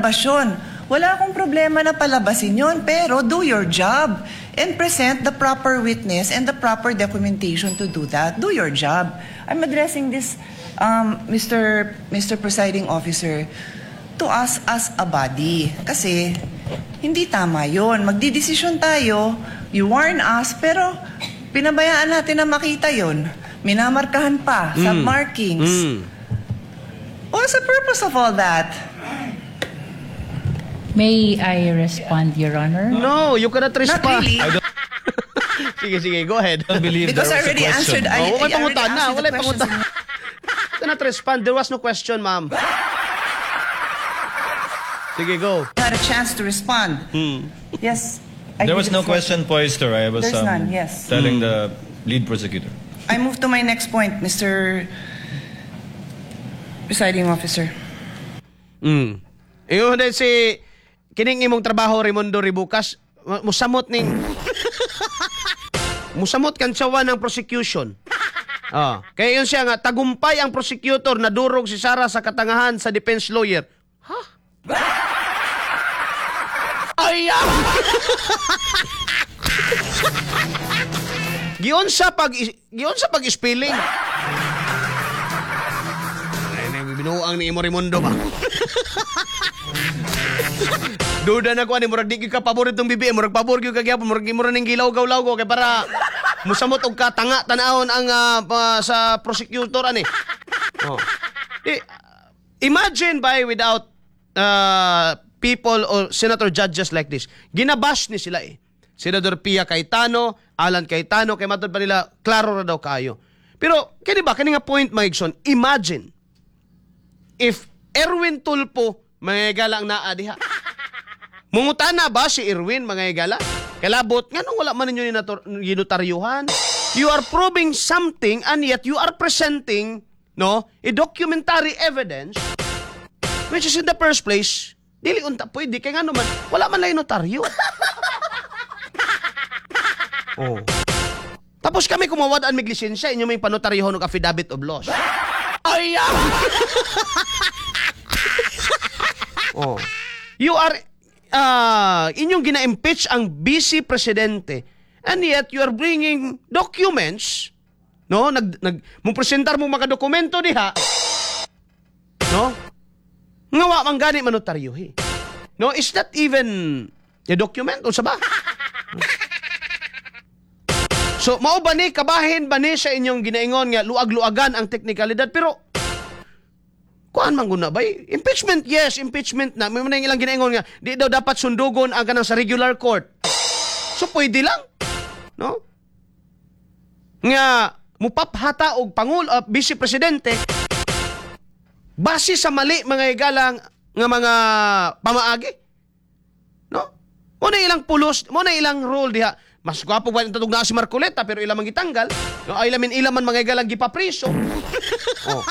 Ipalabas yun. Wala akong problema na palabasin yun, pero do your job and present the proper witness and the proper documentation to do that. Do your job. I'm addressing this, Mr. Presiding Officer, to us as a body. Kasi hindi tama yun. Magdidesisyon tayo, you warn us, pero pinabayaan natin na makita yun. Minamarkahan pa, submarkings. What's the purpose of all that? May I respond, Your Honor? No, you cannot Not respond. really. Sige, sige, go ahead. I don't believe Because there I was a already question. answered. Oh, I walay already pangutana, answered the walay questions. pangutana. Cannot respond. There was no question, ma'am. Sige, go. Had a chance to respond. Yes. I There give was the no floor. question poised to her. I was There's none, yes. telling the lead prosecutor. I move to my next point, Mr. Presiding Officer. Ingon din si kining imong trabaho, Raimundo Rebucas, musamot ning musamot kantsawan ng prosecution. Ah, kaya yun siya nga tagumpay ang prosecutor na durog si Sara sa katangahan sa defense lawyer. Ha? Ay! Ah! Giunsa pag spelling. Ay, binuang ni imo, Raimundo ba? Duda na ko ani, murag di gyud ka pabor itong BBM, murag pabor gyud ka gyapon, murag imo ra ning gilawgaw-lawgaw kay para musamot og katanga tan-awon ang sa prosecutor ani. Oh. Di, imagine by without people or senator judges like this. Ginabash ni sila eh. Senador Pia Cayetano, Alan Cayetano, kay matod pa nila, klaro ra daw kaayo. Pero, kini ba, kini nga point, mga igsoon, imagine if Erwin Tulfo, mga higala, ang naa diha. Mungutana ba si Erwin, mga higala? Kalabot, nganong wala man ninyo ginotaryuhan? You are proving something and yet you are presenting, no, a documentary evidence which is in the first place, dili unta pwede, kay ngano man, wala man lang notaryo. Oh. Tapos kami kumawad-an mig lisensya, inyo may panotaryohon og affidavit of loss. Ay! Ah! Oh. You are inyong gina-impeach ang vice presidente and yet you are bringing documents, no, nag nag mo presentar mo mga dokumento diha, no, nga wa man gani manotaryo eh. No, is that even a document unsa ba? So mao ba ni, kabahin ba ni sa inyong ginaingon nga luag-luagan ang teknikalidad? Pero kuan man guna ba? Impeachment, yes, impeachment na. May mga ilang ginaingon nga di daw dapat sundugon ang kanang sa regular court. So pwede lang, no? Nga mupaphata og pangulo, vice presidente base sa mali, mga higalang, nga mga pamaagi. No? Mo na ilang pulos, mo na ilang role diha. Mas gwapo ba tatug na si Marcoleta pero ilang man gitanggal. No, ay lamin ilang man, mga higalang, gipapriso. Oh.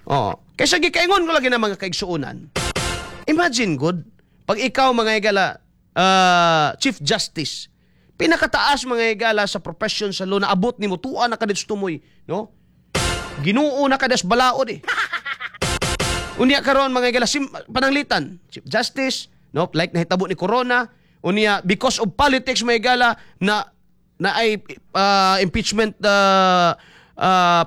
Oh. Kaysa gikaingon ko lagi na, mga kaigsuonan. Imagine good pag ikaw, mga higala, Chief Justice, pinakataas, mga higala, sa profession sa law na abot nimo, tuwa na ka tumoy, no? Ginoo na ka des balaod eh. Unya karon, mga higala, pananglitan, Chief Justice, no, like nahitabo ni Corona, unya because of politics, mga higala, na na ay impeachment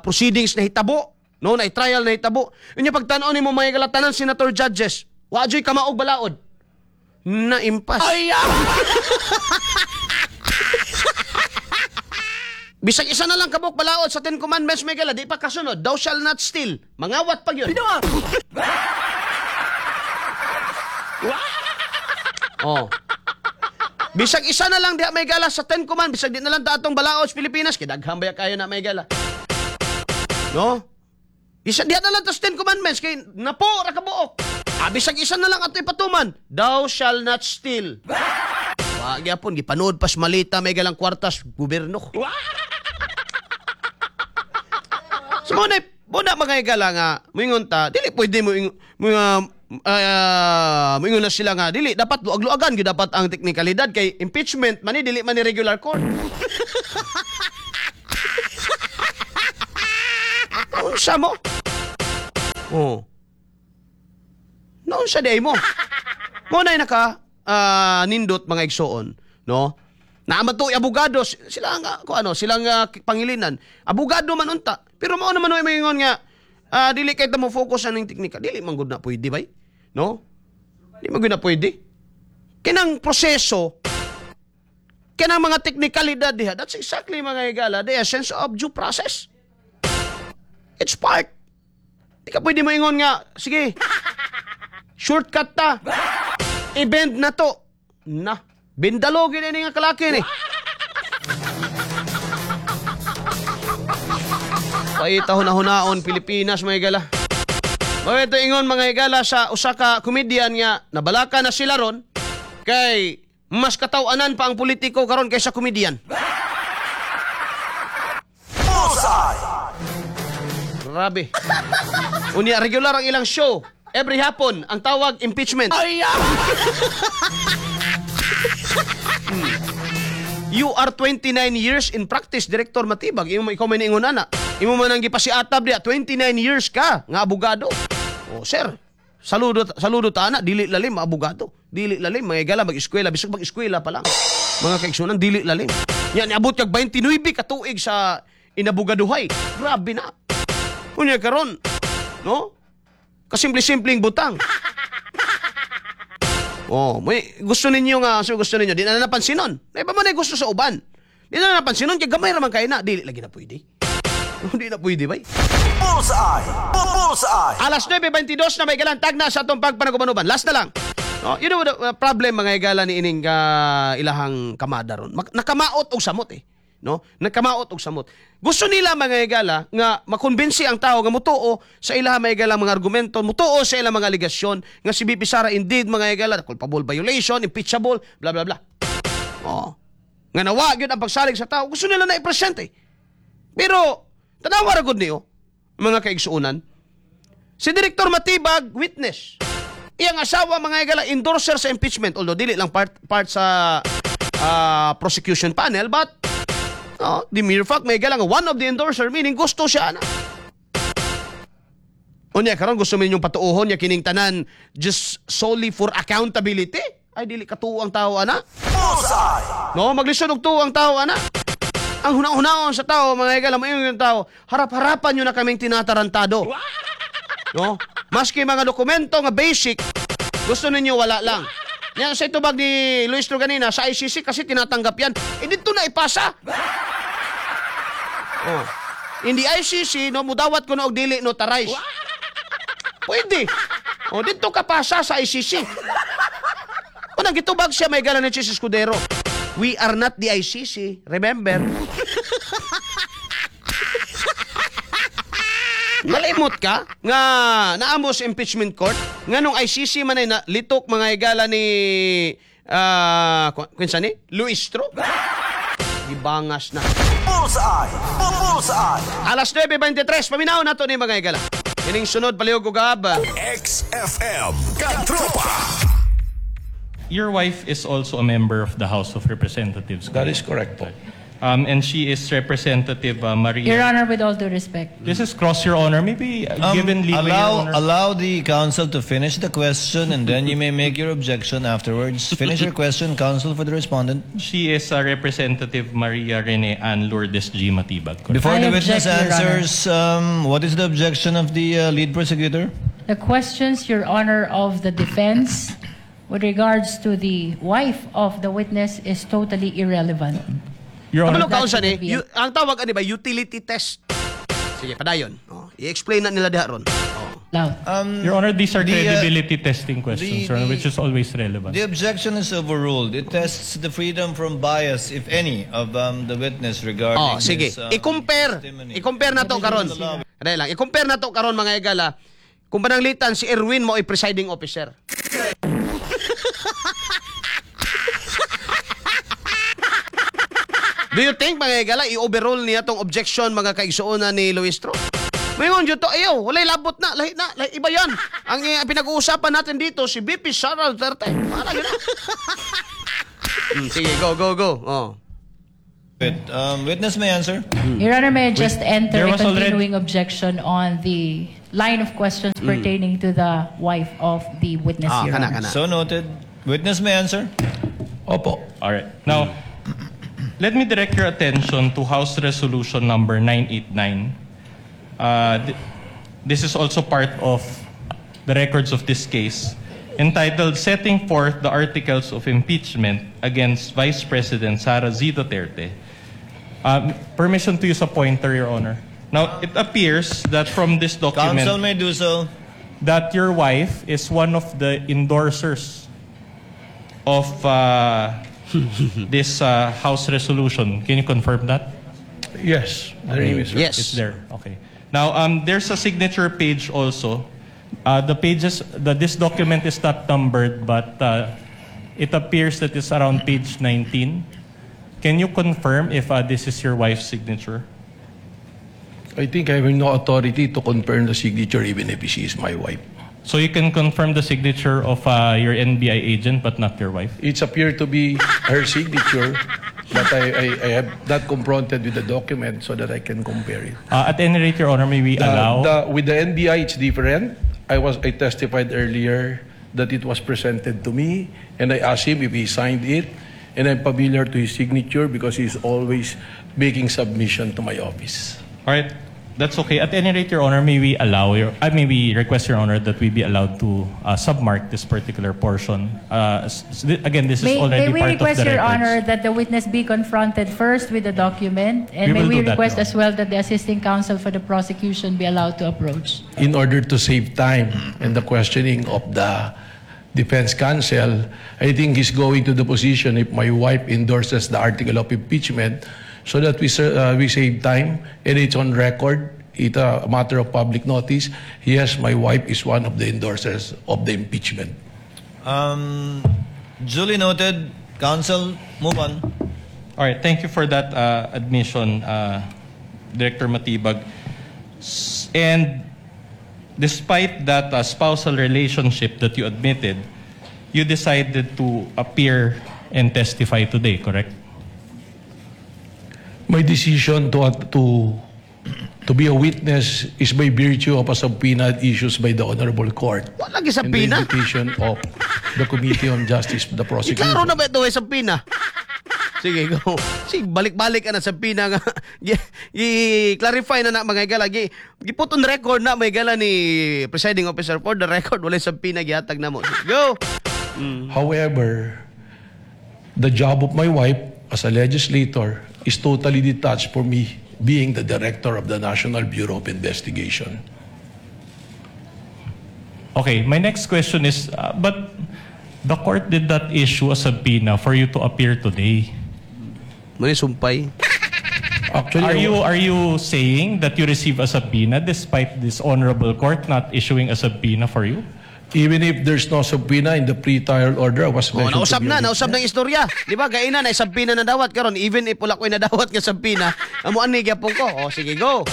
proceedings na hitabo, no, na trial na hitabo. Unya pagtan-aw nimo, mga higala, tanan senator judges, wa joy kamaog balaod. Na impas. Ay! Bisag isa na lang kabuk balaod sa Ten Commandments, mga higala, di pa kasunod. Thou shall not steal. Mangawat pag yun. Oh. Bisag isa na lang diha may gala sa Ten Commandments, bisag di na lang ta atong balaod sa Pilipinas, kay daghan ba kayo na may gala. No? Isa diha na lang ta sa Ten Commandments kay napo ra ka buok. Ah, bisag isa na lang ato ipatuman. Thou shall not steal. Wa gyapon gipanood pas malita may galang kwartas gobyerno. So mo na mo na, mga higala, nga moingon ta dili pwede mo moingon na sila nga dili dapat luag-luagan gyud dapat ang teknikalidad kay impeachment man ni, dili man ni regular court. Unsa mo? Oh. Noon sa day mo. Mo na naka nindot, mga igsoon, no? Naama to abogado sila nga ko ano, sila nga pangilinan. Abogado man unta. Pero mao naman oy maingon nga dili kay ta mo focus aning teknika. Dili man gud na pwede bay. No? Di man gud na pwede. Kinang proseso, kanang mga teknikalidad diha, that's exactly, mga higala, the essence of due process. It's part. Di ka pwede moingon nga, "Sige, shortcut ta. I-bend na to." Na, bindalo gid ini nga kalaki ni. Paita huna-hunaon Pilipinas, mga higala. Mao ito ingon, mga higala, sa usa ka comedian nga nabalaka na sila ron kay mas kataw-anan pa ang politiko karon kaysa comedian. Bullseye! Grabe. Unya regular ang ilang show. Every hapon, ang tawag impeachment. You are 29 years in practice, Director Matibag. Imo ikaw may niingon ana. Imo man ang gipasiatab diya, 29 years ka nga abogado. Oh, sir. Saludo saludo ta ana, dili lalim abogado. Dili lalim mga higala mag-eskwela, bisag mag-eskwela pa lang. Mga kaigsunan, dili lalim. Yan niabot kag 29 ka tuig sa inabogaduhay. Grabe na. Unya karon, no? Kasimple-simpleng butang. Oh, may gusto ninyo nga, so gusto ninyo, di na napansinon. May pa man ay gusto sa uban. Di na napansinon kay gamay ra man kay na, dili lagi na pwede. Hindi na pwede bay. Bullseye! Bullseye! Alas 9:22 na may galan tagna sa atong pagpanagubanuban. Last na lang. No, you know the problem, mga higala, ni ining ilahang kamada ron. Nakamaot og samot eh. No? Nakamaot og samot. Gusto nila, mga higala, nga makumbinsi ang tao nga mutuo sa ilaha, mga higala, mga argumento, mutuo sa ilang mga alegasyon nga si VP Sara indeed, mga higala, culpable violation, impeachable, blah blah blah. Oh. Nga nawa gyud ang pagsalig sa tao, gusto nila na i-present eh. Pero tanawa ra gud niyo, mga kaigsuonan. Si Director Matibag, witness. Iyang asawa, mga higala, endorser sa impeachment. Although dili lang part sa prosecution panel, but no, the mere fact, may higala, nga one of the endorser, meaning gusto siya na. Unya karon gusto ninyong patuohon ya kining tanan just solely for accountability? Ay, dili katuo ang tao ana. Bullseye! No, maglisod og tuo ang tao ana. Ang huna-hunaon sa tao, mga higala, mayon yung tao, harap-harapan nyo na kaming tinatarantado. No? Maski mga dokumento nga basic, gusto ninyo wala lang. Yan sa itubag ni Luistro ganina, sa ICC kasi tinatanggap yan. Eh dito na ipasa. Oh. In the ICC, no, mudawat ko na og dili notarize. Pwede. Oh, dito ka pasa sa ICC. Unang gitubag siya may gala ni Chiz Escudero. We are not the ICC. Remember? Malimot ka nga naamo sa impeachment court nga nung ICC man ay na, litok, mga higala, ni kinsa ni Luistro, gibangas na. Bullseye! Bullseye! Alas 9:23, paminaw nato ni, mga higala, kining sunod palihog og gab. XFM Katropa! Your wife is also a member of the House of Representatives. That is correct po. And she is Representative Maria. Your Honor, with all due respect. This is cross, Your Honor. Maybe given leeway, Your Allow, Honor. allow the counsel to finish the question and then you may make your objection afterwards. Finish your question, counsel for the respondent. She is Representative Maria Rene Ann Lourdes G. Matibag. Correct? Before I the witness object, Your Honor. answers, what is the objection of the lead prosecutor? The questions, Your Honor, of the defense with regards to the wife of the witness is totally irrelevant. Your Honor, Kabalo ka unsa ni That would be ang tawag ani ba utility test. Sige, padayon. Oh, i-explain na nila diha ron. Oh. Loud. Your Honor, these are credibility testing questions, Your Honor, which is always relevant. The objection is overruled. It tests the freedom from bias, if any, of the witness regarding Oh, sige. this I-compare. testimony. I-compare na to karon. Dali lang. I-compare na to karon, mga higala. Kung pananglitan si Erwin mo ay presiding officer. Do you think, mga higala, i-overrule niya tong objection, mga kaigsuonan, ni Luistro? Mayon dyan to, ayaw, walay labot na, lahi na, lahi, iba yan. Ang pinag-uusapan natin dito, si VP Sara Duterte. Para yun na. Sige, go, go, go. Oh. Wait, witness may answer. Your Honor, may I just enter There a was already- continuing objection on the Line of questions pertaining to the wife of the witness, Ah, Your kana, Honor. Kana. So noted. Witness may answer. Opo. All right. Now, let me direct your attention to House Resolution number 989. This is also part of the records of this case, entitled "Setting Forth the Articles of Impeachment Against Vice President Sara Z. Duterte." Permission to use a pointer, Your Honor. Now, it appears that from this document Counsel may do so. That your wife is one of the endorsers of this House resolution. Can you confirm that? Yes, the name is Yes. It's there. Okay. Now, there's a signature page also. The pages, this document is not numbered, but it appears that it's around page 19. Can you confirm if this is your wife's signature? I think I have no authority to confirm the signature even if she is my wife. So you can confirm the signature of your NBI agent, but not your wife? It's appeared to be her signature, but I have not confronted with the document so that I can compare it. At any rate, Your Honor, may we allow? With the NBI, it's different. I testified earlier that it was presented to me, and I asked him if he signed it, and I'm familiar to his signature because he's always making submission to my office. All right, that's okay. At any rate, Your Honor, may we request, Your Honor, that we be allowed to submark this particular portion. Again, this is already May we part request, of the Your records. Honor, that the witness be confronted first with the document, and We may will we do that, request Your as well that the assisting counsel for the prosecution be allowed to approach? In order to save time and the questioning of the defense counsel, I think he's going to the position if my wife endorses the article of impeachment so that we save time and it's on record. It's a matter of public notice. Yes, my wife is one of the endorsers of the impeachment. Duly noted. Counsel, move on. All right, thank you for that admission, Director Matibag. And despite that spousal relationship that you admitted, you decided to appear and testify today, correct? My decision to be a witness is by virtue of a subpoena issues by the Honorable Court Wala gyud and the subpoena. Invitation of the Committee on Justice, the prosecution. Klaro na ba ito ay subpoena? Sige, go. Sige, balik-balik ka na subpoena nga. I-clarify na na, mga higala. Gi-put on record na, mga higala, ni presiding officer, for the record, walay subpoena gihatag na mo. Sige, go! However, the job of my wife as a legislator is totally detached from me being the director of the National Bureau of Investigation. Okay, my next question is, but the court did not issue a subpoena for you to appear today. Muna sumpay. Actually, Are you saying that you receive a subpoena despite this honorable court not issuing a subpoena for you? Even if there's no subpoena in the pre-trial order, I was Oh, mentioned to nausab be a na, witness. nausab ng istorya. Di ba? Gaina na subpoena na dawat karon, even if wala ko'y nadawat nga subpoena, amo ani gyapon ko. Oh, sige, go.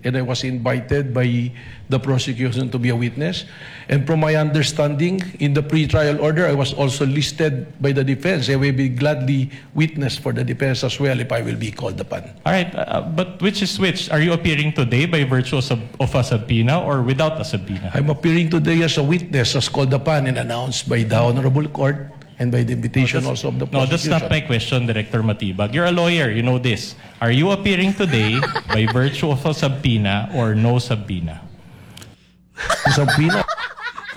And I was invited by the prosecution to be a witness. And from my understanding, in the pre-trial order, I was also listed by the defense. I will be gladly witness for the defense as well if I will be called upon. All right, but which is which? Are you appearing today by virtue of a subpoena or without a subpoena? I'm appearing today as a witness as called upon and announced by the Honorable Court and by the invitation also of the No, that's prosecution. not my question, Director Matibag. You're a lawyer, you know this. Are you appearing today by virtue of a subpoena or no subpoena? Subpoena.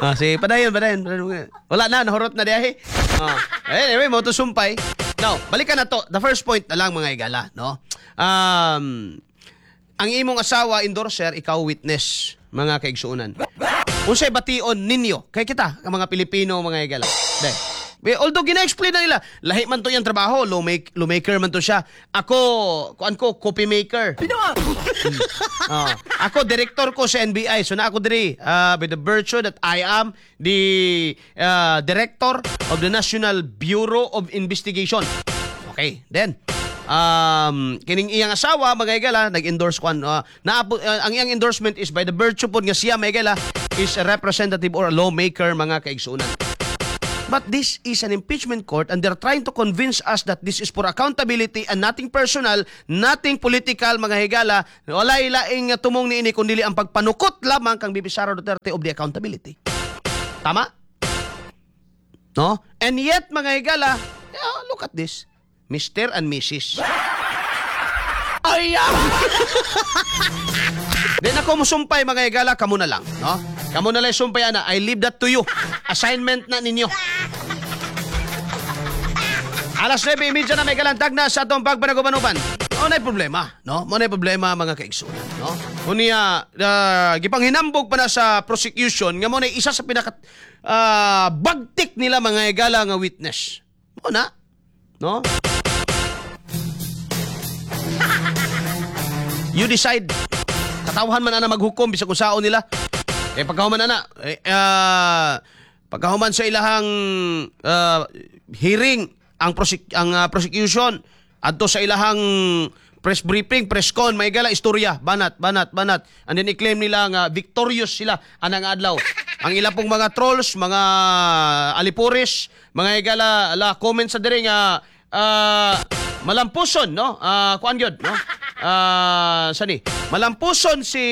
Ah, sige, padayon, padayon, padayon. Wala na, nahurot na diay. Ah. Anyway, mo to sumpay. Now, balikan na to. The first point na lang, mga igala, no? Ang imong asawa endorser, ikaw witness, mga kaigsuonan. Unsay bation ninyo kay kita, ang mga Pilipino, mga igala? Day. Although gina-explain na nila, lahi man to yung trabaho, lawmaker man to siya. Ako, kuan ko, copy maker. Ah, ako, director ko sa NBI. So na ako diri by the virtue that I am the director of the National Bureau of Investigation. Okay, then kining iyang asawa, mga higala, nag-endorse kwan na ang iyang endorsement is by the virtue pod nga siya, mga higala, is a representative or a lawmaker, mga kaigsuonan. But this is an impeachment court and they're trying to convince us that this is for accountability and nothing personal, nothing political, mga higala. Wala ilaing tumong niini kundi ang pagpanukot lamang kang VP Sara Duterte of the accountability. Tama? No? And yet, mga higala, yeah, look at this. Mr. and Mrs. Ay! Di na ko musumpay, mga higala, kamo na lang, no? Kamo na lang sumpay ana. I leave that to you. Assignment na ninyo. Alas 9:30 na may kalantag na sa atong pagpanagubanuban. Mo na problema, no? Mo na problema, mga kaigsunan, no? Unya, gipanghinambog pa na sa prosecution nga mo na isa sa pinaka bagtik nila, mga higala, nga witness. Mo na, no? You decide. Katawhan man ana maghukom bisag unsaon nila. Eh pagkahuman ana, eh, pagkahuman sa ilahang hearing ang prosecution adto sa ilahang press briefing, press con, may gala istorya, banat, banat, banat. And then i-claim nila nga victorious sila anang adlaw. Ang ila pong mga trolls, mga alipores, mga higala, ala comment sa diri nga malampuson, no? Kuan gyud, no? Sani? Malampuson si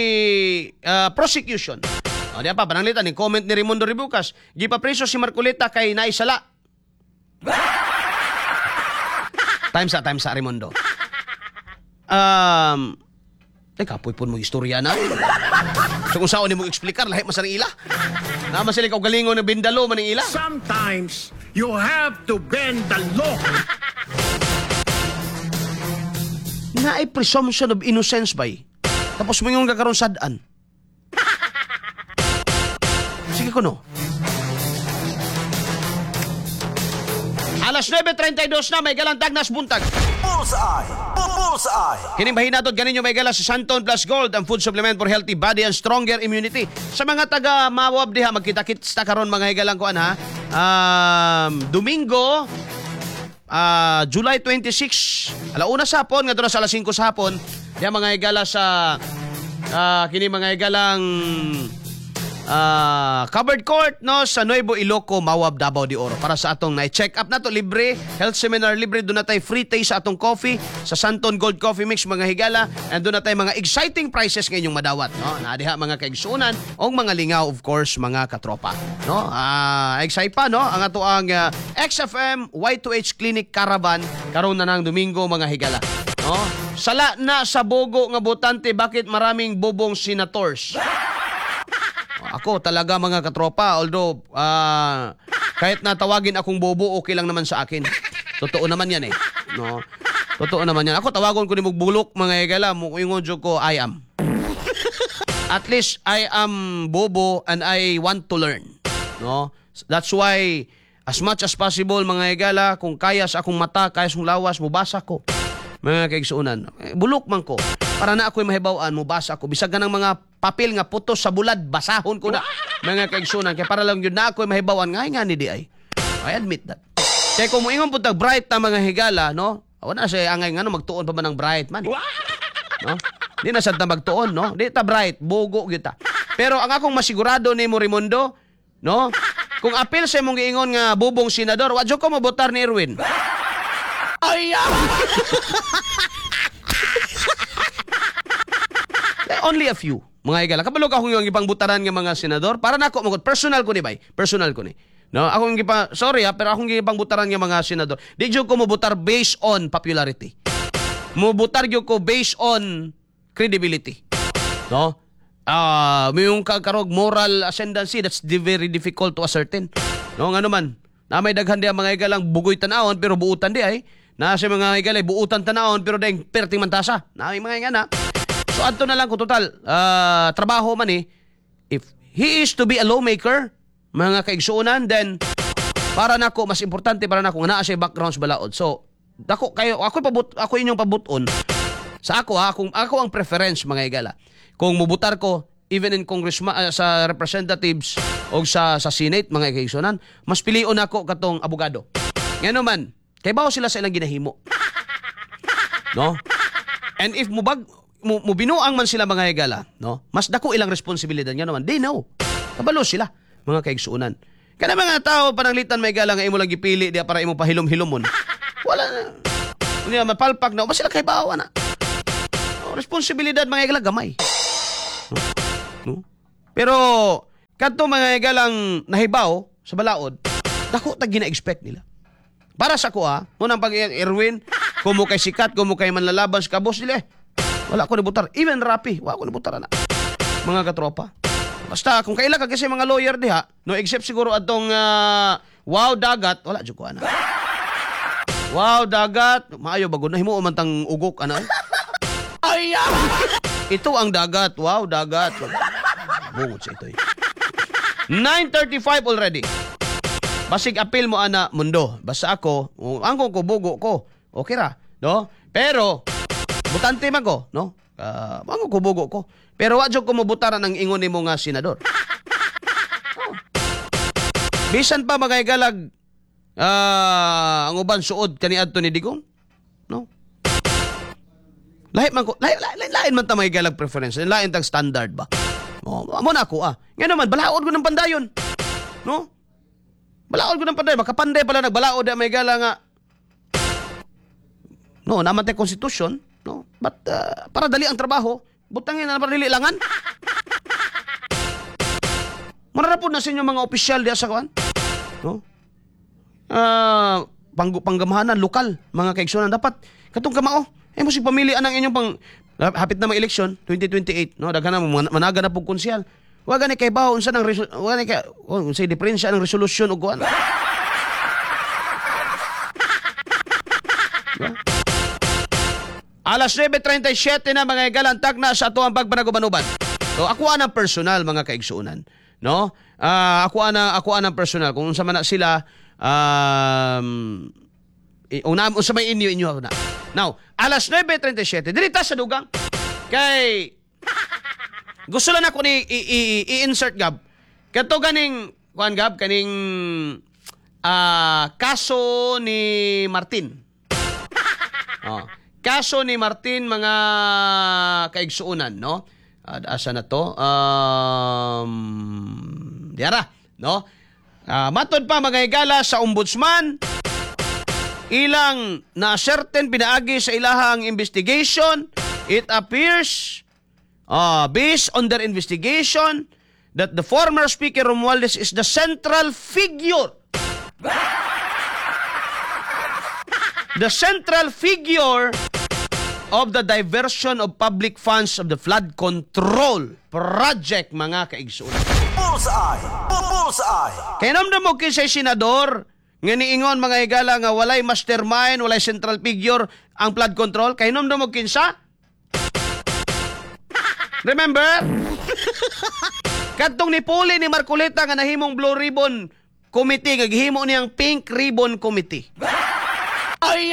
prosecution. O, di pa pananglitan ni comment ni Raimundo Rebucas, gipapreso si Marcoleta kay naisala. Time sa Raimundo. Teka, kapoy po mo istorya na. So kung saan mo eksplikar, lahi man sa ila. Naman sila ikaw galingon ng bindalo man ang ila. Sometimes you have to bend the law. Naay presumption of innocence bay. Tapos mo yung kakaroon sadaan. Sige ko no. Alas 9:32 na may galantag nas buntag. Bullseye! Bullseye! Kining bahinatod ganinyo may gala sa Santon Plus Gold, ang food supplement for healthy body and stronger immunity. Sa mga taga Mawab diha, magkita-kits ta karon, mga higalang kuan ha. Domingo, July 26, alauna sa hapon ngadto na sa alas 5 sa hapon, diha mga higala sa kini mga higalang covered court, no, sa Nuevo Iloco, Mawab, Davao de Oro para sa atong na check up nato, libre health seminar, libre. Doon na tayo free taste sa atong coffee sa Santon Gold Coffee Mix, mga higala, and doon na tayo mga exciting prizes ngayong madawat, no, na diha mga kaigsunan og mga lingaw, of course, mga katropa, no. Excite pa, no, ang ato ang XFM Y2H Clinic Caravan karon na ng Domingo, mga higala, no. Sala na sa bogo nga botante, bakit maraming bobong senators? Ako talaga, mga katropa, although kahit natawagin akong bobo, okay lang naman sa akin. Totoo naman yan eh. No? Totoo naman yan. Ako tawagon ko ni Mugbulok, mga higala, muingon jud ko, I am. At least I am bobo and I want to learn. No? That's why as much as possible, mga higala, kung kaya sa akong mata, kaya sa akong lawas, mubasa ko. Mga kaigsuonan, bulok man ko. Para na ako'y mahibaw-an, mubasa ko. Bisag ka ng mga papel nga putos sa bulad, basahon ko na. Mga kaigsuonan, kaya para lang yun na ako'y mahibaw-an, nga nga ni di ay. I admit that. Kaya kung muingon po tag bright na mga higala, no? Wala siya angay nga no, magtuon pa ba ng bright man? No? Di na sad ta magtuon, no? Di ta bright, bogo gyud ta. Pero ang akong masigurado nimo, Raimundo, no? Kung apil sa imong giingon nga bubong senador, wa jud ko mobotar ni Erwin. Ay! Only a few, mga higala. Kabalo ka akong yung ipangbutaran nga mga senador. Para nako magod personal ko ni bay. Personal ko ni. No, akong gipa, sorry ha, pero akong gipangbutaran nga mga senador. Di jud ko mobotar based on popularity. Mobotar gyud ko based on credibility. No? May yung kakarog moral ascendancy, that's very difficult to ascertain. No, ngano man. Na may daghan di ang mga higalang bugoy tanawon pero buutan di ay. Na sa mga higalay buutan tanawon pero dahil perting mantasa. Na may mga ingana. So adto na lang ko total trabaho man eh. If he is to be a lawmaker, mga kaigsuonan, then para nako mas importante para nako nga naa siya background sa balaod. So dako kayo ako pabut ako inyong pabuton. Sa ako ha, kung ako ang preference, mga higala. Kung mubutar ko even in congressman, sa representatives o sa Senate, mga kaigsuonan, mas pilion nako katong abogado. Ngano man, kay bawo sila sa ilang ginahimo. No? And if mubag mubinuang man sila, mga higala, no? Mas dako ilang responsibilidad, ngano man, they know. Kabalo sila, mga kaigsuonan. Kana mga tao pananglitan may gala nga imo lang gipili diya para imo pahilom-hilomon. Wala na. Unya mapalpak na ba sila kay bawa na. Oh, responsibilidad mga higala gamay. No? No? Pero kadto mga higalang nahibaw sa balaod, dako tag gina-expect nila. Para sa kuha, munang pag Erwin, kumo kay sikat, kumo kay manlalaban sa kabos nila eh. Wala ko nibutar. Even Rapi, wala ko nibutar na. Mga katropa. Basta kung kaila ka kasi mga lawyer diha, no except siguro atong wow dagat, wala jud ko ana. Wow dagat, maayo bagod na himo man tang ugok ana. Ay! Ito ang dagat. Wow dagat. Bungot sa ito eh. 9:35 already. Basig apil mo ana mundo. Basta ako, ang ko bugo ko. Okay ra, no? Pero butante man ko, no? Ang ko bugo ko. Pero wa jud ko mobutaran ang ingon nimo nga senador. Oh. Bisan pa mga igalag ang uban suod kaniadto ni Digong, no? Lahi man ko, lahi, lahi, lain man ta mga igalag preference, lain tag standard ba. Oh, mo na ako ah. Ngano man balaod ko ng pandayon. No? Balaod ko ng panday, baka panday pala nagbalaod na may gala nga. No, naman tayo constitution, no? But para dali ang trabaho, butangin na para dili langan. Mararapod na sa inyo mga opisyal diya sa kuan. No? Panggamhanan lokal, mga kaigsunan dapat katong kamao. Eh mo si pamilya ang inyong pang hapit na mag-eleksyon 2028, no? Daghan na managa na pug konsehal. Wa gani kay bawo unsa nang wa gani kay unsay diferensya ng resolusyon ug kuan. Diba? Alas 9:37 na mga higalan, tagna sa ato ang pagpanagubanuban. So ako anang personal mga kaigsuonan, no? Ako anang personal kung unsa man na sila una unsa may inyo inyo na. Now, alas 9:37 diri ta sa dugang. Kay gusto lang ako ni i-insert Gab. Kato ganing kuan Gab kaning kaso ni Martin. Oh, kaso ni Martin mga kaigsuonan, no? Asa na to? Diara, no? Matod pa mga higala sa ombudsman, ilang na certain pinaagi sa ilahang investigation, it appears based on their investigation that the former Speaker Romualdez is the central figure. The central figure of the diversion of public funds of the flood control project, mga kaigsuonan. Bullseye! Bullseye! Kaya namdam mo kinsay senador nga niingon mga higala nga walay mastermind, walay central figure ang flood control. Kaya namdam mo kinsa? Remember? Kadtong ni Puli ni Marcoleta nga nahimong Blue Ribbon Committee, nga gihimo niyang Pink Ribbon Committee. Ay!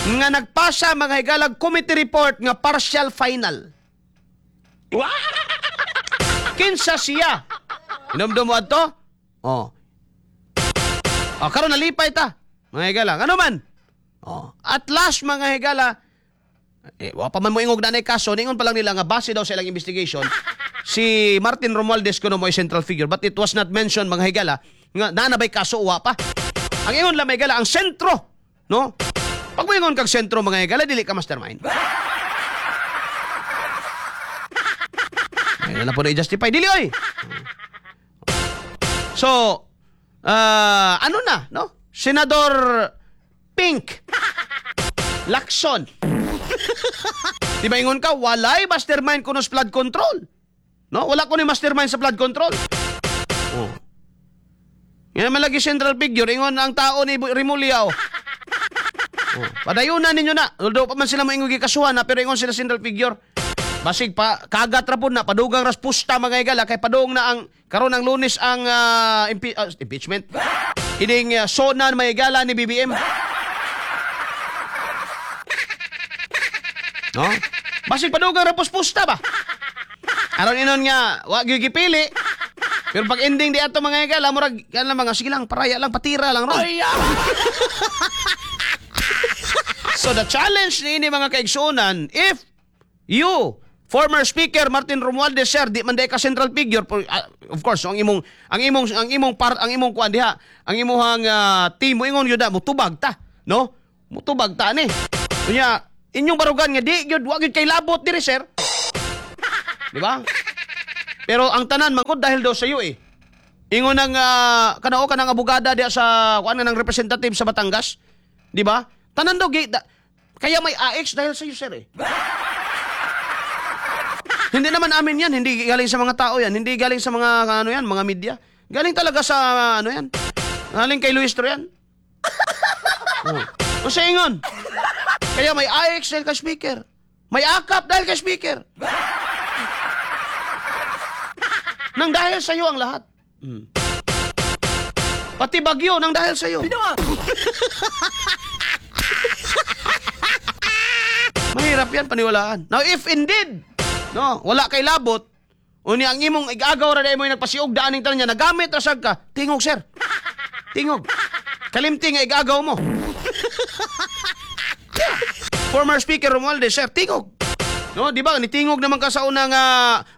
Nga nagpasa mga higalag committee report nga partial final. Kinsa siya? Inomdom mo adto? Oh. Oh, karon nalipay ta. Mga higala, ano man? Oh, at last mga higala, wa pa man mo ingog na kaso, ningon pa lang nila nga base daw sa ilang investigation, si Martin Romualdez kuno mo central figure, but it was not mentioned mga higala nga naa na bay kaso wa pa. Ang ingon lang mga higala ang sentro, no? Pag moingon kag sentro mga higala, dili ka mastermind. Ay, na po na i-justify dili oy. So, ano na, no? Senador Pink Lacson. Di ba ingon ka, walay mastermind kuno sa flood control. No? Wala ko ni mastermind sa flood control. Oh. Yan naman lagi central figure, ingon ang tao ni Remulla. Oh. Oh. Padayunan ninyo na. Although pa man sila moingon gikasuhan na, pero ingon sila central figure. Basig pa kagat ra pud na padugang respusta mga higala kay padung na ang karon ang Lunes ang impeachment. Ining sona mga higala ni BBM. No? Basig padugang respusta ba? Aron inon nga wa gyud gipili. Pero pag ending di ato mga higala murag kan lang mga sige lang paraya lang patira lang ron. So the challenge niini mga kaigsuonan, if you Former Speaker Martin Romualdez, sir, di man diay ka central figure. Of course, ang imong part, ang imong kuan diha, ang imong team mo ingon gyud na mutubag ta, no? Mutubag ta ani. Unya, inyong barugan nga di gyud, wa gyud kay labot diri, sir. Di ba? Pero ang tanan mangod dahil daw sa iyo eh. Ingon ang kanao kanang abogada diha sa kuan nga ng representative sa Batangas, di ba? Tanan daw kaya may AX dahil sa iyo, sir eh. Hindi naman amin yan, hindi galing sa mga tao yan, hindi galing sa mga ano yan, mga media. Galing talaga sa ano yan. Galing kay Luistro yan. Oh. O sa ingon. Kaya may AX dahil kay speaker. May AKAP dahil kay speaker. Nang dahil sa iyo ang lahat. Pati bagyo nang dahil sa iyo. Mahirap yan paniwalaan. Now if indeed, no, wala kay labot, unya ang imong igagaw ra mo yung nagpasiog daan ning tanan niya, nagamit ra sad ka, tingog, sir. Tingog. Kalimti nga igagaw mo. Former Speaker Romualdez, sir, tingog. No, di ba? Nitingog naman ka sa unang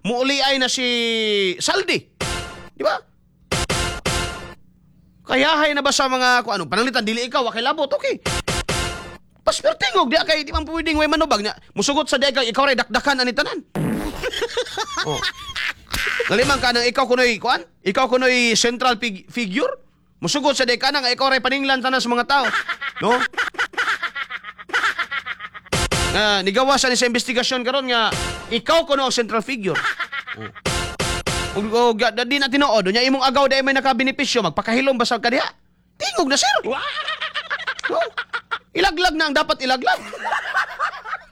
muuli ay na si Zaldy. Di ba? Kayahay na ba sa mga kung ano, pananglitan dili ikaw wa kay labot, okay. Pas pero tingog di kay di man pwedeng way manubag nya. Musugot sa degay ikaw ray dakdakan ani tanan. Oh. Ngalimang ka nang ikaw kunoy kuan? Ikaw kunoy central figure? Musugot sa degay ka nga ikaw ray paninglan tanan sa mga tao. No? Nga nigawa sa ni sa investigasyon karon nga ikaw kuno ang central figure. Oh. Ug di na tinuod nya imong agaw dai may nakabenepisyo, magpakahilom basag ka diha. Tingog na, sir. No? Ilaglag na ang dapat ilaglag.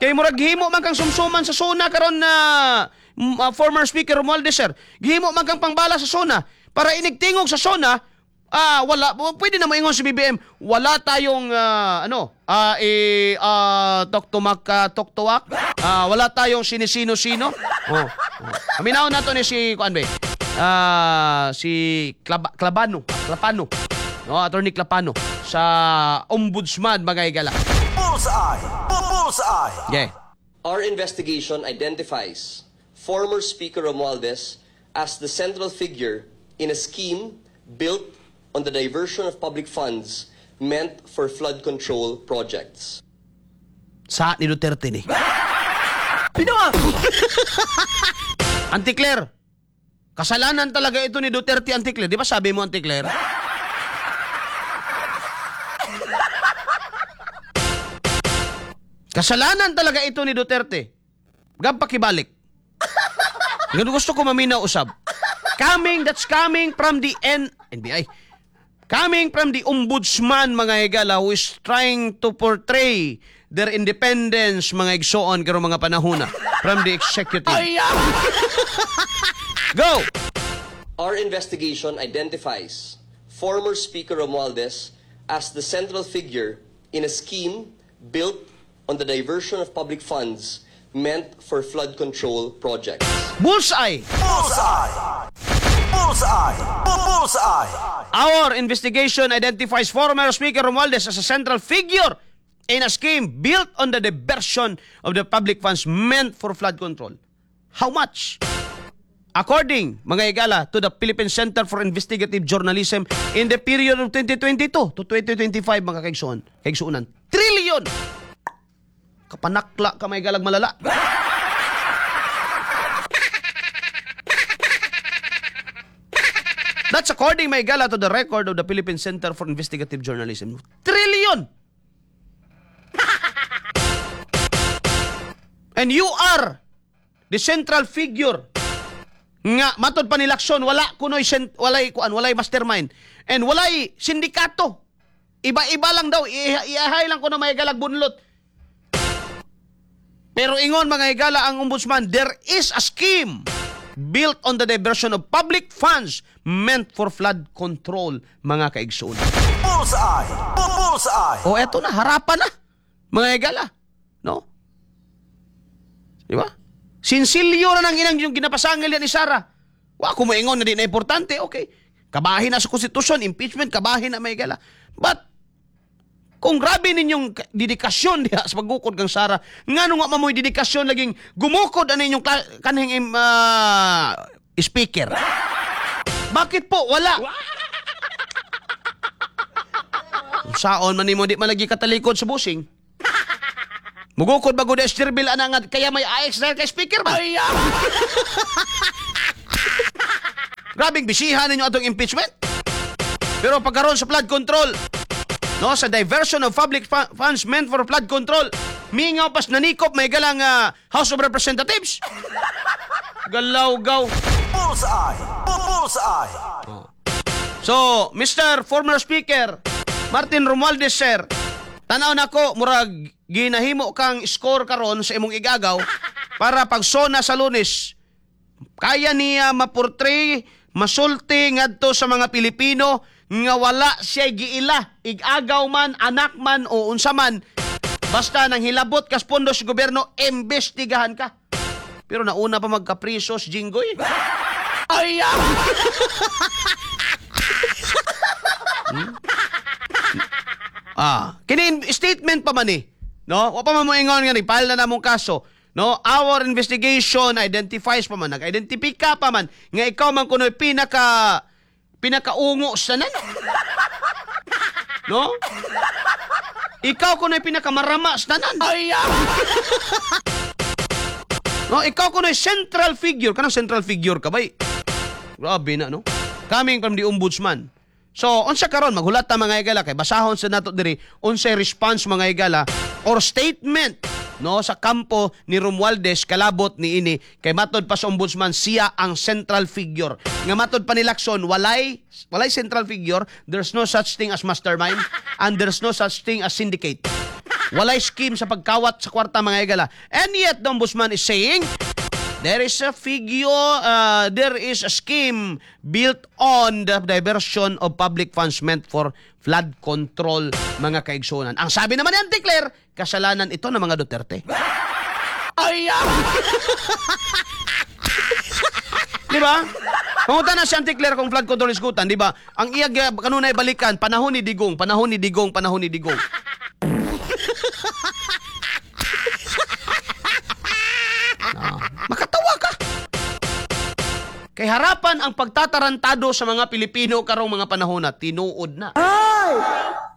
Kay murag gihimo man kang sumsuman sa SONA karon na former Speaker Romualdez, sir. Gihimo man kang pangbala sa SONA para inigtingog sa SONA, wala pwede na moingon si BBM, wala tayong ano, eh, tok tumak tok tuwak. Wala tayong sinisino-sino. Oh. Aminaw nato ni si kuan ba? Si Clabano, Clapano. No, Attorney Clapano sa Ombudsman, mga higala. Bullseye! Bullseye! Okay. Our investigation identifies former Speaker Romualdez as the central figure in a scheme built on the diversion of public funds meant for flood control projects. Sa ni Duterte ni. Auntie Claire, kasalanan talaga ito ni Duterte, Auntie Claire. Di ba sabi mo, Auntie Claire? Kasalanan talaga ito ni Duterte. Gab pakibalik. Ganun gusto ko maminaw usab. That's coming from the NBI. Coming from the ombudsman, mga higala, who is trying to portray their independence, mga igsoon, karong mga panahona from the executive. Go! Our investigation identifies former Speaker Romualdez as the central figure in a scheme built on the diversion of public funds meant for flood control projects. Bullseye! Bullseye! Bullseye! Bullseye! Our investigation identifies former Speaker Romualdez as a central figure in a scheme built on the diversion of the public funds meant for flood control. How much? According, mga higala, to the Philippine Center for Investigative Journalism, in the period of 2022 to 2025, mga kaigsuonan, trillion! Kapanakla ka, mga higalag malala. That's according, mga higala, to the record of the Philippine Center for Investigative Journalism. Trillion! And you are the central figure nga matod pa ni Lacson, wala kunoy walay kuan, walay mastermind and walay sindikato. Iba-iba lang daw, iahay lang kuno, mga higalag, bunlot. Pero ingon, mga higala, ang ombudsman, there is a scheme built on the diversion of public funds meant for flood control, mga kaigsoon. Bullseye! Bullseye! O eto na, harapan na, mga higala. No? Di ba? Sinsilyo na nang inang yung ginapasangil yan ni Sara. Wa ko moingon na di na importante, okay. Kabahin na sa konstitusyon, impeachment, kabahin na, mga higala. But, Kung grabe ninyong dedikasyon diha sa paggukod kang Sara, ngano nga mamoy dedikasyon laging gumukod ani inyong kanhing speaker? Bakit po wala? Saon man nimo di man lagi katalikod sa busing. Mugukod ba gud Esterbil ana nga kaya may AX dahil kay speaker ba? Grabing bisihan ninyo atong impeachment. Pero pagkaroon sa flood control, no, sa diversion of public funds meant for flood control, mingaw pas nanikop may galang House of Representatives. Galaw-gaw. Bullseye. Bullseye. So, Mr. Former Speaker, Martin Romualdez, sir, tanaw nako murag ginahimo kang score karon sa imong igagaw para pagsona sa Lunes, kaya niya maportray, masulti ngadto sa mga Pilipino nga wala siya giila, igagaw man, anak man o unsa man, basta nang hilabot kas pondo sa gobyerno, imbestigahan ka. Pero nauna pa magkapriso si Jinggoy. Ay! Kini statement pa man eh. No? Wa pa man mo ingon nga ni file na namong kaso. No? Our investigation identifies pa man, nag-identify ka pa man nga ikaw man kunoy pinakaungo sa tanan. No? Ikaw kunoy pinakamarama sa tanan. Ay! No, ikaw kunoy central figure. Kanang central figure ka bay. Grabe na, no? Coming from the ombudsman. So, unsa karon maghulat ta, mga higala, kay basahon sa nato diri unsay response, mga higala, or statement, no, sa kampo ni Romualdez kalabot ni ini, kay matod pa sa ombudsman siya ang central figure. Nga matod pa ni Lacson, walay central figure, there's no such thing as mastermind and there's no such thing as syndicate. Walay scheme sa pagkawat sa kwarta, mga higala. And yet the ombudsman is saying there is a figure, there is a scheme built on the diversion of public funds meant for flood control, mga kaigsunan. Ang sabi naman ni Auntie Claire, kasalanan ito ng mga Duterte. Ay! Di ba? Pangutan na si Auntie Claire kung flood control isgutan, di ba? Ang iyag kanunay balikan, panahon ni Digong, panahon ni Digong, panahon ni Digong. Makatawa ka. Kay harapan ang pagtatarantado sa mga Pilipino karong mga panahon na tinuod na.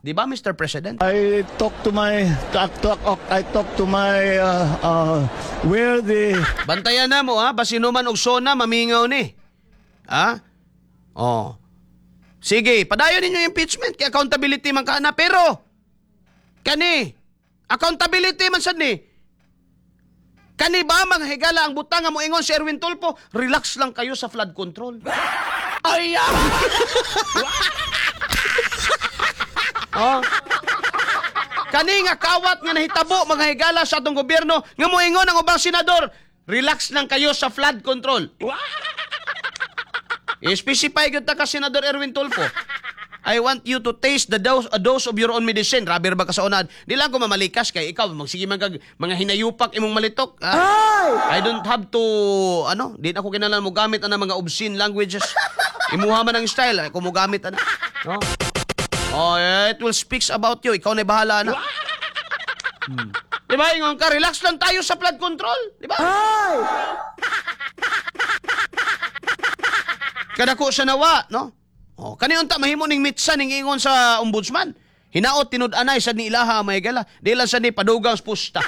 Di ba, Mr. President? I talk to my talk, talk, I talk to my where the Bantayan na mo ha, basino man og sona mamingaw ni. Ha? Oh. Sige, padayon ninyo yung impeachment kay accountability man kana, pero kani accountability man sad ni. Kani ba, mga higala, ang butang nga moingon si Erwin Tulfo, relax lang kayo sa flood control. Ay! Oh. Kani nga kawat nga nahitabo, mga higala, sa atong gobyerno nga moingon ang ubang senador, relax lang kayo sa flood control. I-specify gyud ta ka, Senador Erwin Tulfo. I want you to taste the dose, a dose of your own medicine. Rabi ba ka sa unad? Di lang ko mamalikas kay ikaw magsige man kag mga hinayupak imong malitok. Ah, I don't have to ano, di na ako kinahanglan mo gamit ana mga obscene languages. Imuha man ang style, ay, kung mo gamit ana. No? Oh, it will speaks about you. Ikaw na bahala na. Di ba, ingon ka, relax lang tayo sa flood control. Di ba? Kadako sa nawa, no? Oh, kani unta mahimo ning mitsa ning ingon sa ombudsman. Hinaot tinud-anay sad ni ilaha, may gala. Di lang sad ni padugang pusta.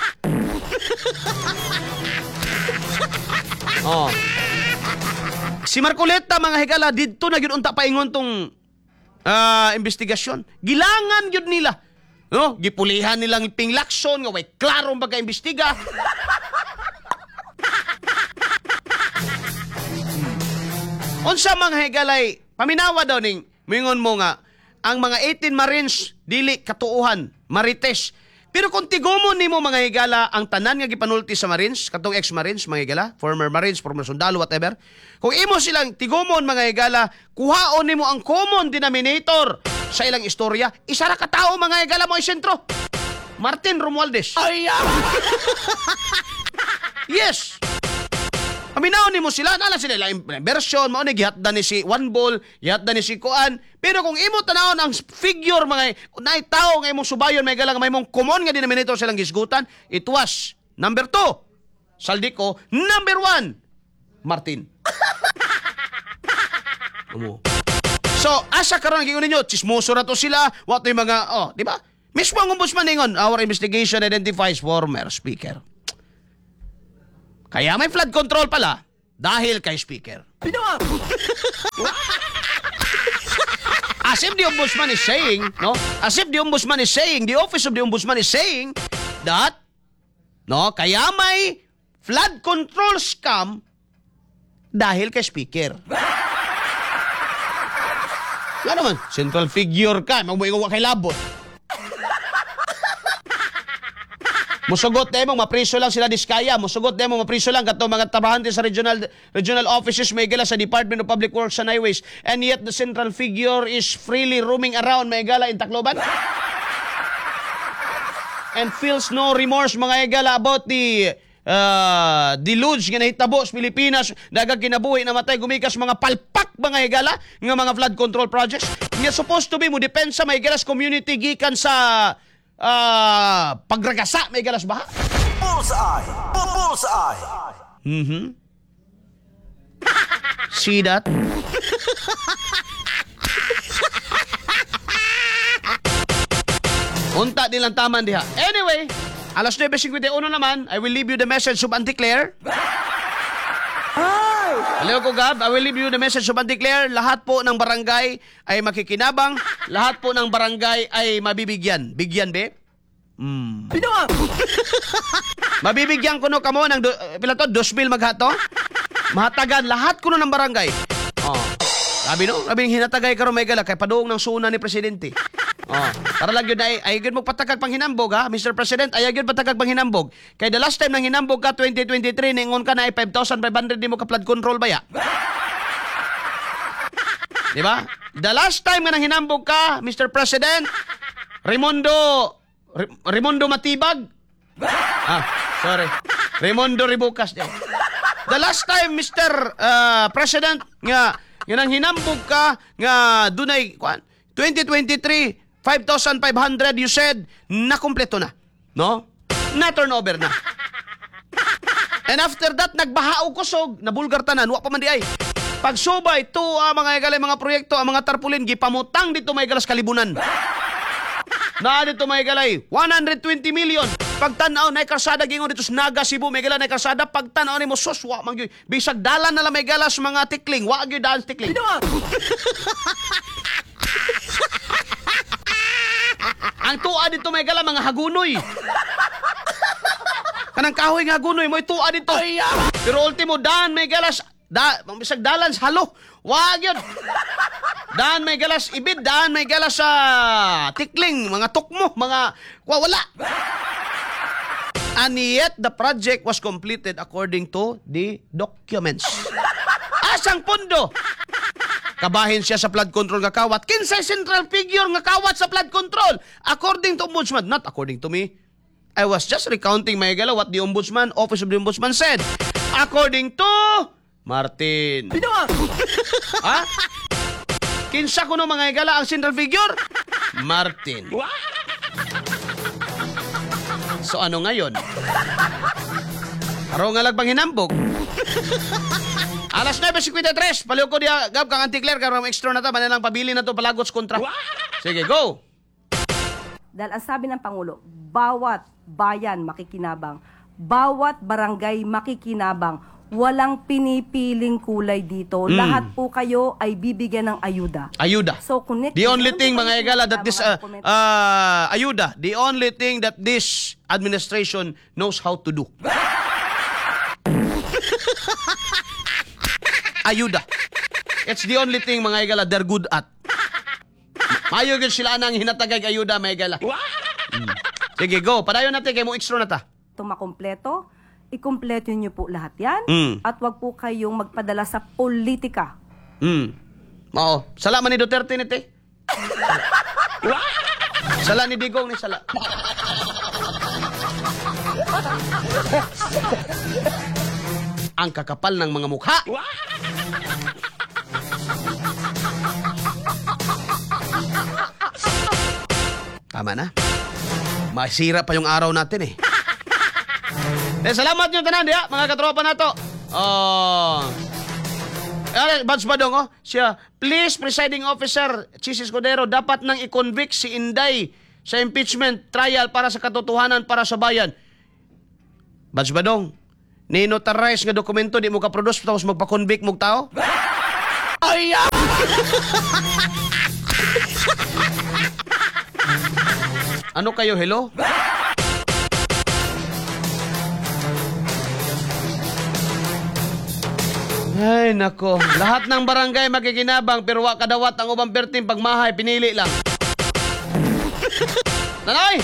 Oh. Si Marcoleta, mga higala, didto na gyud unta paingon tong investigasyon. Gilangan gyud nila. No, gipulihan nilang Ping Lacson nga way klarong pagka-imbestiga. Unsa, mga higalay, paminawa daw ning mingon mo nga ang mga 18 Marines dili katuohan, marites. Pero kung tigumon nimo, mga higala, ang tanan nga gipanulti sa Marines, katong ex-Marines, mga higala, former Marines, former sundalo, whatever. Kung imo silang tigumon, mga higala, kuhaon nimo ang common denominator sa ilang istorya, isa ra ka tawo, mga higala, mo sentro. Martin Romualdez. Ay! Yes! Paminawon nimo sila, naa lang sila laing version, mao ni gihatdan ni si One Ball, gihatdan ni si Kuan. Pero kung imo tanawon ang figure, mga naay tawo nga imong subayon, may galang may mong common nga denominator silang gisgutan, it was number 2, Zaldy Co, number 1, Martin. Amo. So, asa karon giingon ninyo, chismoso ra to sila, what yung mga, oh, di ba? Mismo ang ombudsman ningon, "Our investigation identifies former speaker." Kaya may flood control pala dahil kay speaker. As if the ombudsman is saying, no? As if the ombudsman is saying, the office of the ombudsman is saying that, no, kaya may flood control scam dahil kay speaker. Nga naman, central figure ka, magbuhay kay labot. Musugot na mong mapriso lang sila Diskaya, musugot na mong mapriso lang kato mga trabahante sa regional regional offices, may gala sa Department of Public Works and Highways, and yet the central figure is freely roaming around, may gala, in Tacloban and feels no remorse, mga igala, about the deluge nga nahitabo sa Pilipinas, daghang kinabuhi namatay gumikas mga palpak, mga higala, nga mga flood control projects nga supposed to be mo depensa, may higala, sa community gikan sa pagragasa, may higala, sa baha. Bullseye! Bullseye! See that? Unta din lang taman diha. Anyway, alas 9:51 naman, I will leave you the message of Auntie Claire. Hello ko, Gab, I will leave you the message of Auntie Claire. Lahat po ng barangay ay makikinabang. Lahat po ng barangay ay mabibigyan. Bigyan, be? Mabibigyan kuno kamo ng pila to? 2,000 maghato? Mahatagan lahat kuno ng barangay. Oh. Sabi no, sabi hinatagay karon, may gala, kay paduong ng suna ni presidente. Oh, para lang yun ay gyud mo patakag panghinambog ha, Mr. President, ay gyud patakag panghinambog. Kay the last time nang hinambog ka 2023, ningon ka na ay 5,500 di mo ka flood control ba ya? Di ba? The last time nga nang hinambog ka, Mr. President, Raimundo Raimundo Matibag. Ah, sorry. Raimundo Rebucas. Di. The last time, Mr. President, nga nga nang hinambog ka nga dunay kuan 2023 5,500, you said na kumpleto na. No? Na turnover na. And after that, nagbaha og kusog, nabulgar tanan, wa pa man di ay. Pagsubay, to mga igalay mga proyekto, ang mga tarpulin, gipamutang dito may galas kalibunan. Na dito may galay, 120 million. Pagtanaw, na karsada gingon dito sa Naga, Cebu, may gala na karsada. Pagtanaw nimo, sus, wa man gyud. Bisag dalan na lang may galas mga tikling, wa gyud daan sa tikling. Ang tuwa dito may gala mga hagunoy. Kanang kahoy nga hagunoy mo'y tuwa dito. Pero ultimo daan may galas da bisag dalan sa halo. Wa gyud. Daan may galas ibid, daan may galas sa tikling, mga tukmo, mga wala. And yet the project was completed according to the documents. Asang pundo? Kabahin siya sa flood control nga kawat. Kinsay central figure nga kawat sa flood control? According to ombudsman, not according to me. I was just recounting, my gala, what the ombudsman, office of the ombudsman said. According to Martin. Ha? Kinsa kuno, mga higala, ang central figure? Martin. So ano ngayon? Araw nga lagbang hinambog. Alas 9:53, paliw ko diya, Gab, kang Auntie Claire, karon extra na ta, lang pabili na to, palagots kontra. Sige, go! Dahil ang sabi ng Pangulo, bawat bayan makikinabang, bawat barangay makikinabang, walang pinipiling kulay dito. Lahat po kayo ay bibigyan ng ayuda. Ayuda. So, connect The only thing, mga igala, that this, ayuda, the only thing that this administration knows how to do. Ayuda. It's the only thing, mga igala, they're good at. Mayo gyud sila nang hinatagay ayuda, mga igala. Sige, go. Padayon natin kay mo extra na ta. Ito makumpleto, ikumpleto niyo po lahat yan. At wag po kayong magpadala sa politika. Oo. Sala man ni Duterte ni te. Sala ni Digong ni sala. Ang kakapal ng mga mukha. Tama na. Masira pa yung araw natin eh. Eh, salamat nyo tanan diha, mga katropa nato. Oh. Eh, Bads Badong, oh. Siya, please, presiding officer, Chis Escudero, dapat nang i-convict si Inday sa impeachment trial para sa katotohanan para sa bayan. Bads Badong, ni-notarize nga dokumento, di mo ka-produce, tapos magpa-convict mo tao? Ay, ah! Ano kayo, hello? Ay, nako. Lahat ng barangay makikinabang pero wa kadawat ang ubang perting pagmahay, pinili lang. Nanay!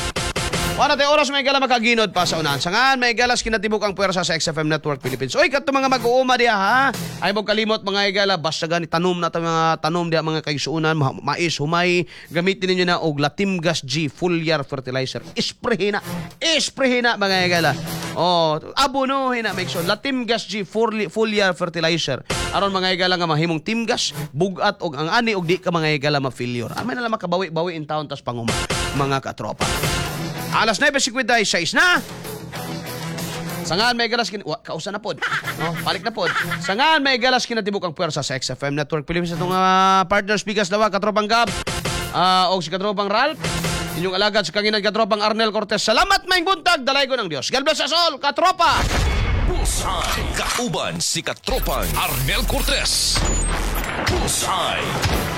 Wala tayo oras may gala makaginod pa sa unahan. Sangan may galas kinatibuk ang puwersa sa XFM Network Philippines. Oy, kadto mga mag-uuma diha ha. Ay mo kalimot mga igala basta gani tanom na ta mga tanom diha mga kaigsuonan, mais, humay, gamitin ninyo na og Latimgas G foliar fertilizer. Isprehe na. Isprehe na mga igala. Oh, abono hina make sure Latimgas G foliar fertilizer. Aron mga igala nga mahimong timgas, bugat og ang ani og di ka mga igala ma-failure. Amay na lang makabawi-bawi in town tas panguma mga katropa. Alas 9:56 na. Sangan may galas kin wa, kausa na pod. No, balik na pod. Sangan may galas kinatibuk ang puwersa sa XFM Network Philippines atong partner speakers dawa katropang Gab. Og si katropang Ralph. Inyong alagad sa kanginan katropang Arnel Cortez. Salamat maayong buntag dalaygon ang Dios. God bless us all, katropa. Bullseye. Kauban si Katropang Arnel Cortez. Bullseye.